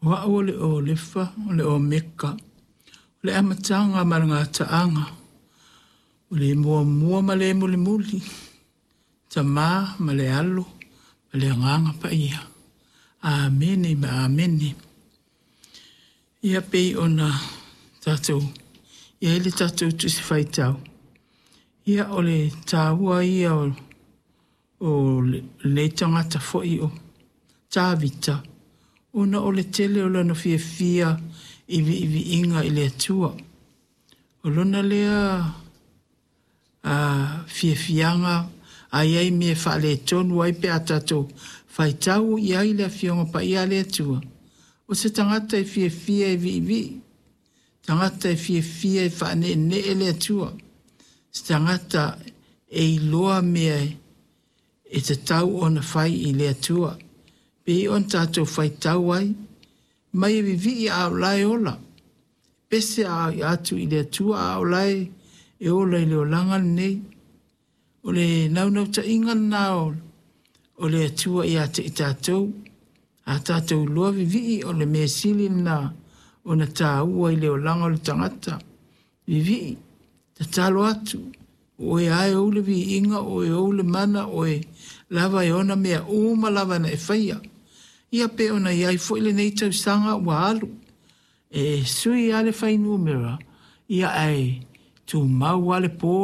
O a'u o le Olefa o le Omeka, o le Amataga ma le Gataaga, o le Muamua ma le Mulimuli, Tama ma le Alo ma le Agaga Paia. Amene ma Amene. Ia pei ona tatou i ai le tatou Tusi Faitau, ia o le taua ia o lenei tagata foi o Tavita, ona o le tele o lona fiafia i viiviiga i le Atua. O lona lea fiafiaga a i ai mea e faaletonu ai pe a tatou faitau i ai le Afioga Paia a le Atua, o se tagata e fiafia e viivii, tagata e fiafia e faaneenee le Atua, se tagata e iloa mea e tatau ona fai i le Atua. Pei ona tatou faitau ai, mai e vivii a o la e ola, pese atu i le Atua a o la e ola i le olaga lenei. O le naunautaiga lena o le Atua ia te i tatou, a tatou iloa vivii o le mea sili lena ona taua i le olaga o le tagata. Vivii, tatalo atu, o oe lava e ou le viiga, o oe e ou le mana, o oe lava e ona mea uma lava na e faia. Ia pei ona i ai foi lenei tausaga ua alu, e sui lava le fuainumera, ia ae tumau lava le po.